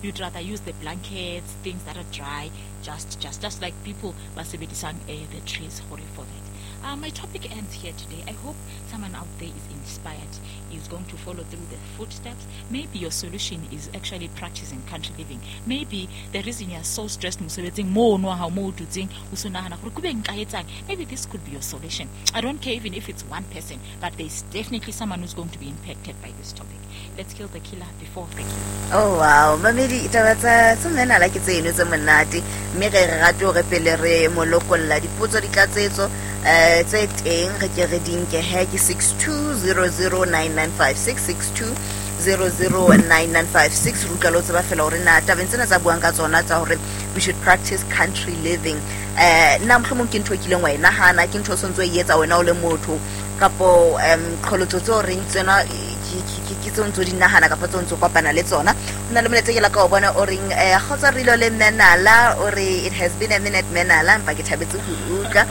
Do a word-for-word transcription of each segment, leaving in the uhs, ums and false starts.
You'd rather use the blankets, things that are dry, just just just like people ba sebedisang eh, the trees hore for that. Uh, my topic ends here today. I hope someone out there is inspired, is going to follow through the footsteps. Maybe your solution is actually practicing country living. Maybe the reason you're so stressed mosebetsing mono ha mo o dutseng o so nahana gore kube nka etsang. Maybe this could be your solution. I don't care even if it's one person, but there's definitely someone who's going to be impacted by this topic. Let's kill the killer before the killer. Oh wow, mamedi, taba tsa tsa Menala ke tse eno tse monate, mme re re rate hore pele re mo lokolla dipotso ditlatsetso eh tse teng re ke re di nke he ke six two zero zero nine nine five six, six two zero zero nine nine five six. Re utlwa le ho tseba fela hore na tabeng tsena tsa buang ka tsona tsa hore we should practice country living, eh nna mohlomong ke ntho e kileng wa e nahana, ke ntho o sontso e etsa wena o le motho, kapo um qholotso tseo reng tsena ke tseo ntso di nahana kapa tseo ntso kopana le tsona. Ho na le molaetsa ke la ka o bona o reng, eh, kgotsa Rilo le Menala, o re it has been a minute Menala, empa ke thabetse ho utlwa.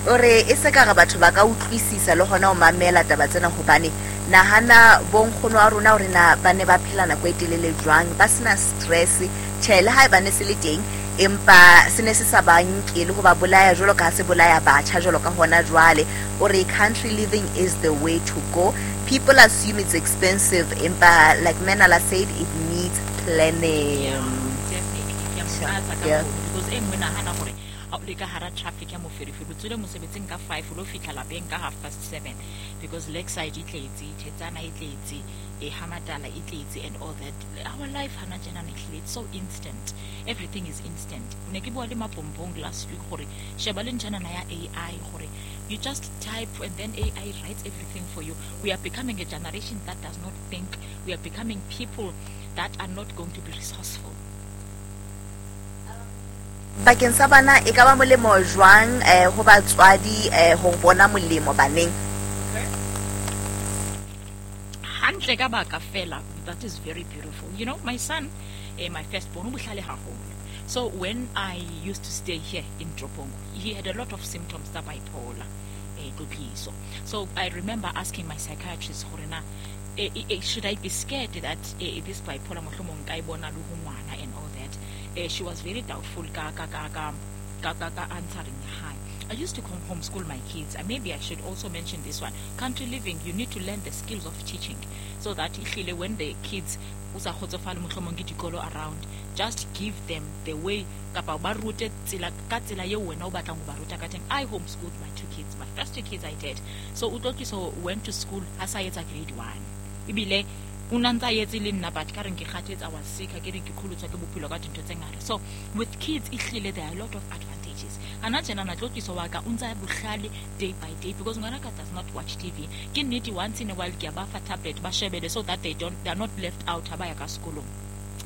O re e se ka re batho ba ka utlwisisa le hona ho mamela taba tsena, hobane nahana bonkgono wa rona hore na ba ne ba phela nako e telele jwang, ba sena stress. Tjhe, le haeba ne se le teng, empa se ne se sa ba nke le ho ba bolaya jwalo ka ha se bolaya batjha jwalo ka hona jwale. O re country living is the way to go. People assume it's expensive, empa like Menala said, it needs planning. Yeah, definitely. Ke a mo tlatsa ka Yeah. hoo, because e nngwe nahana hore ha o le ka hara traffic ya moferefere, o tswile mosebetsing ka five, o lo fihla lapeng ka half past seven, because Lakeside e tletse, Thetsana e tletse, e Hamatala e tletse and all that. Our life hana tjena ne ehlile, it's so instant. Everything is instant. Ne ke bua le Mapompong last week hore sheba le ntjhanana ya A I hore you just type and then A I writes everything for you. We are becoming a generation that does not think. We are becoming people that are not going to be resourceful. Bakeng sa bana e ka ba molemo jwang, eh, ho batswadi, eh, ho bona molemo baneng? Hantle ka baka fela, that is very beautiful. You know, my son, eh, my firstborn, o bohlale haholo. So when I used to stay here in Tropong, he had a lot of symptoms tsa bipolar, eh, tlotliso. So I remember asking my psychiatrist hore na, eh, eh, eh, should I be scared that, eh, this bipolar mohlomong nka e bona le ho ngwana and all that. Eh, she was very doubtful ka, ka, ka, ka, ka, ka, ka answering ya hae. I used to come homeschool my kids. And maybe I should also mention this one. Country living, you need to learn the skills of teaching so that ehlile when the kids o sa kgotsofale mohlomong ke dikolo around, just give them the way kapa ba rute tsela ka tsela eo wena o batlang ho ba ruta ka teng. I homeschooled my two kids. My first two kids I did. So Utlotliso went to school ha sa etsa grade one. Ebile o na ntsa etse le nna, but ka reng ke kgathetse, I was sick, ha ke re ke qholotswa ke bophelo ka dintho tse ngata. So with kids ehlile there are a lot of advantages. Hana tjena na Tlotliso wa ka o ntsa bohlale day by day because ngwana ka does not watch T V. Ke nnete once in a while ke a ba fa tablet ba shebele so that they don't, they are not left out ha ba ya ka sekolong.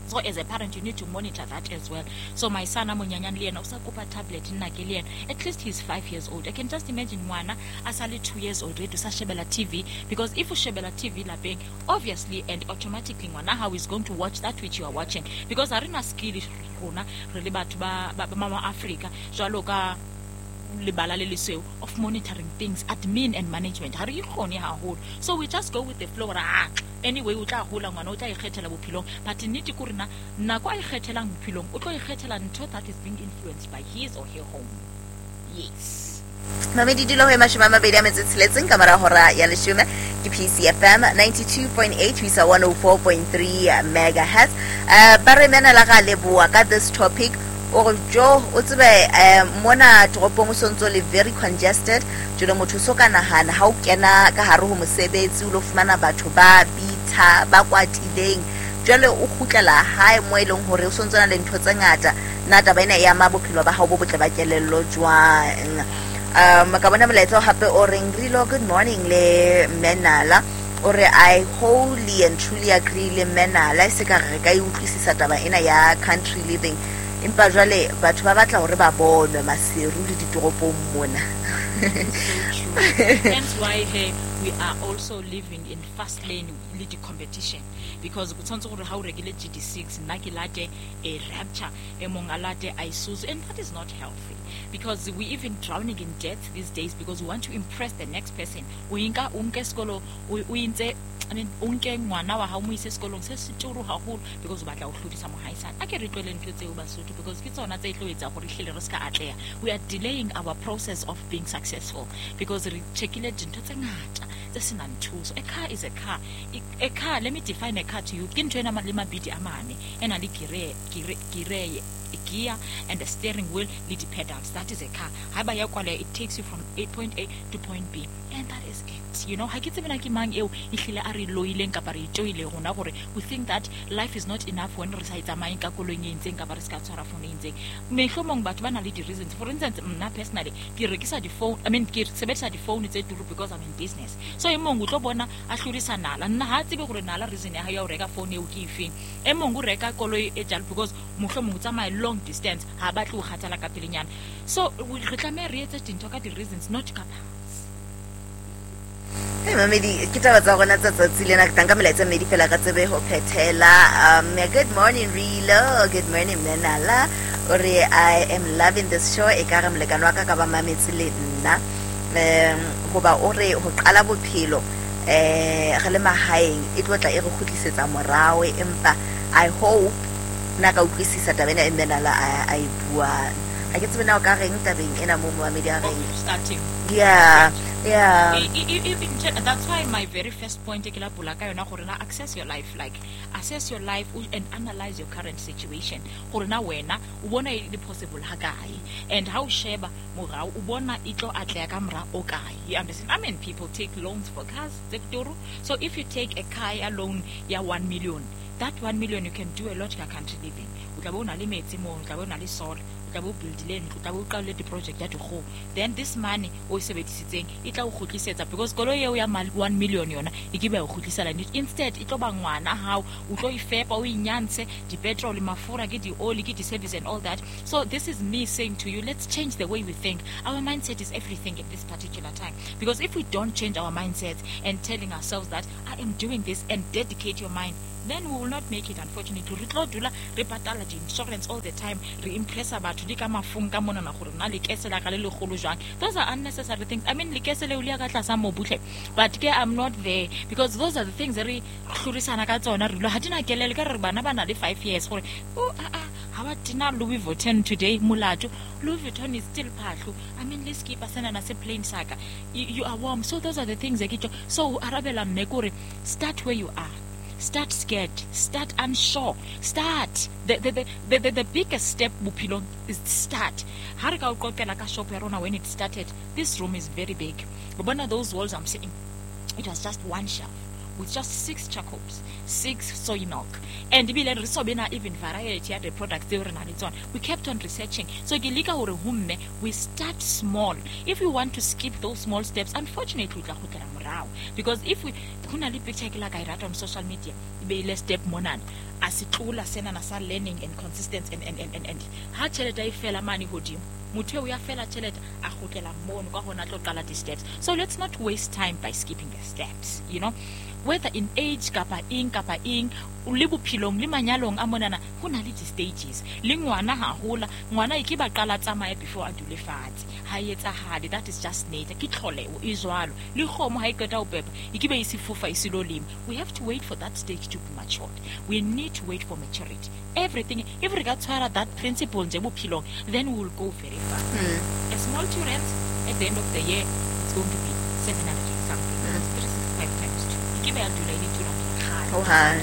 So as a parent, you need to monitor that as well. So my son, a monyenyane le yena, o sa kopa tablet nna ke le yena. At least he's five years old. I can just imagine ngwana a sa le two years old already, o sa shebela T V. Because if o shebela T V lapeng, obviously and automatically ngwana how is going to watch that which you are watching. Because ha re na skill rona, re le batho ba, ba, ba mama Africa, jwalo ka lebala le lesweu of monitoring things, admin and management. Ha re ikgone haholo. So we just go with the flow. Ah, anyway, o tla hola ngwana, o tla ikgethela bophelong. But nnete ke hore na, nako a ikgethelang bophelong, o tlo ikgethela ntho that is being influenced by his or her home. Yes. Mamedi dilo ho mashome a mabedi a metso e tsheletseng ka mora hora ya leshome ke P C F M ninety-two point eight ho isa one oh four point three megahertz. Eh, ba re mena la ga leboa ka this topic. O re jo o tsebe, eh, mona toropong o sontso le very congested. Jwale motho so ka nahana ha o kena ka hare ho mosebetsi o lo fumana batho ba bitha ba kwatileng. Jwale o kgutlela hae mo e leng hore o sontso na le ntho tse ngata. Na taba ena e ama bophelo ba hao bo botle ba kelello jwang? Um, ka bona molaetsa o hape o reng Rilo, good morning le Menala. O re I wholly and truly agree le Menala. E se ka re ka e utlwisisa taba ena ya country living. Empa jwale batho ba batla hore ba bonwe Maseru le ditoropong mona. So true. Hence why hey, we are also living in fast lane le di-competition, because go tshwanetse gore ha o rekile G D six, nna ke late a Rapture, e mong a late Isuzu, and that is not healthy, because we even drowning in debt these days because we want to impress the next person. O inka o nke sekolo, o o intse, I mean, o nke ngwana wa hao mo ise sekolong se se turu haholo because o batla ho hlodisa mohaisane. A ke re tlohele ntho tseo Basotho, because ke tsona tse tlo etsa gore ehlile re ska atleha. We are delaying our process of being successful because re checkile dintho tse ngata tse senang thuso. A car is a car. A car, let me define a car to you. Ke ntho ena le mabidi a mane, e na le gear, gear, gear, gear and the steering wheel le di-pedals. That is a car. Haeba ya kwaleha, it takes you from A point A to point B, and that is it. You know, ha ke tsebe na ke mang eo ehlile a re loileng kapa re itoile rona gore we think that life is not enough when re sa e tsamayeng ka koloing e entseng kapa re se ka tshwara phone e entseng. Mehlomong batho ba na le di-reasons. For instance, nna personally ke rekisa di-phone, I mean, ke sebedisa di-phone tse turu because I'm in business. So e mong o tlo bona a hlodisa nala, nna ha tsebe gore nala reason ya hae ya ho reka phone eo ke efeng. E mong o reka koloi e jalo because mohlomong o tsamaya long distance, ha batle ho kgathala ka pelenyana. So re tlameha re etse dintho ka di-reasons, not ka parts. Hey, mamedi, ke taba tsa rona tsa tsatsi lena, ke tla nka melaetsa e mmedi fela ka tsebe ho phethela. Um, good morning Rilo, good morning Menala. O re I am loving this show, e ka re molekane wa ka ka ba mametse le nna. Um, hoba o re ho qala bophelo eh re le mahaeng e tlo tla e re kgutlisetsa morao, empa I hope nna ka utlwisisa taba ena e Menala a, a e buang. Ha ke tsebe na o ka reng tabeng ena mo momamedi a reng. Okay, starting. Yeah, yeah. I, I, I, I, that's why my very first point ke la bula ka yona gore na access your life, like assess your life and analyze your current situation. Gore na wena o bona e le possible ha kae, and how sheba morao o bona e tlo atleha ka mora o kae. You understand? I mean, people take loans for cars, tse turu. So if you take a car ya loan ya one million, that one million you can do a lot ka country living. O tla be o na le metsi mo, o tla be o na le solar, o tla be o buildile ntlo, o tla be o qalile di-project ya dikgoho. Then this money o e sebedisitseng e tla o kgutlisetsa, because koloi eo ya one million yona e ke be ya o kgutlisela. Instead e tlo ba ngwana hao, o tlo e fepa, o inyantshe di-petrol, mafura, ke di-oli, ke di-service and all that. So this is me saying to you, let's change the way we think. Our mindset is everything at this particular time, because if we don't change our mindsets and telling ourselves that I am doing this and dedicate your mind, then we will not make it, unfortunately. Re tlo dula re patala di-insurance all the time, re impressa batho di ka mafung ka monana gore na lekese la ka le legolo jwang. Those are unnecessary things. I mean, lekese leo le ya ka tlasa mobu hle, but ke I'm not there, because those are the things re hlorisana ka tsona. Re dula ha di na kelello, ka re bana ba na le five years gore oh, ah, ah, ha ba tena Louis Vuitton today, molato. Louis Vuitton is still phahlo. I mean, le skipa sena na se plain saka. You, you are warm. So those are the things that ke tlo. So arabela mme kore start where you are. Start scared, start unsure, start. The, the, the, the, the, the biggest step bophelong is start. Ha re ka o qoqela ka shop ya rona when it started, this room is very big. O bona those walls I'm saying, it was just one shelf with just six charcoals, six soy milk. And ebile re so bena even variety ya the products tseo re nang le tsona. We kept on researching. So ke leka hore ho mme, we start small. If you want to skip those small steps, unfortunately o tla kgutlela morao. Because if we, ho na le picture ke la ka e rata on social media, e beile step monana, a se tlola senana sa learning and consistency and, and, and, and, and ha tjhelete e fela mane hodimo, motho eo ya fela tjhelete a kgutlela mono ka hona tlo qala di-steps. So let's not waste time by skipping the steps, you know. Whether in age kapa eng kapa eng, le bophelong le manyalong a monana ho na le di-stages. Le ngwana ha hola, ngwana e ke ba qala tsamaya before a dule fatshe. Ha e etsahale, that is just nature. Ke tlholeho e jwalo. Le kgomo ha e qeta ho pepa, e ke be e se fofa e se lo lema. We have to wait for that stage to be matured. We need to wait for maturity. Everything, if re ka tshwara that principle nje bophelong, then we will go very far. Mm. A small two rands at the end of the year, it's going to be seven hundred and something. Mm. Three sixty-five times two. E ke be ya dula e le two rand kgale. Oh, hi.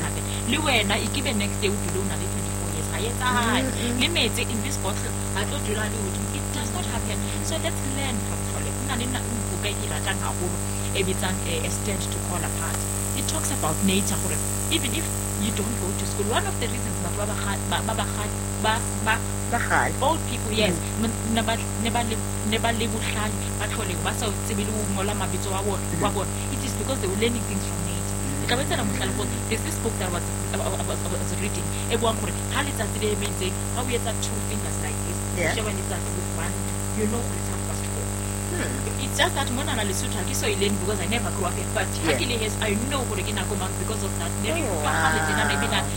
Le wena e ke be next day o dule o na le twenty-four years. Ha e etsahale. Mm-hmm. Le metsi in this bottle ha tlo dula le hodimo. It does not happen. So let's learn from tlholeho. Ho na le nna buka e ke e ratang haholo e bitsang, eh, A Stand to Call Apart. It talks about nature gore even if you don't go to school, one of the reasons batho ba ba ga-, ba, ba, ba ga-, ba, ba, Ba kgale. old people, yes, Mm. ne ba, ne ba le, ne ba le bohlale, ba tlholeho, ba sa tsebe le ho ngola mabitso a bona, wa bona. It is because they were learning things from nature. Ke tla ba etsa mohlala gore there's this book that I was, I was, I was reading e buang gore ha letsatsi le emetseng, ha o etsa two fingers like this, Yeah. o sheba letsatsi with one, you know gore it's half past four. It's just that monana Lesotho ha ke so e learn because I never grew up here, but ha Yeah. ke le heso, I know hore ke nako mang because of that. Ne re Oh, utlwa kgale tjena, ne wow. bina.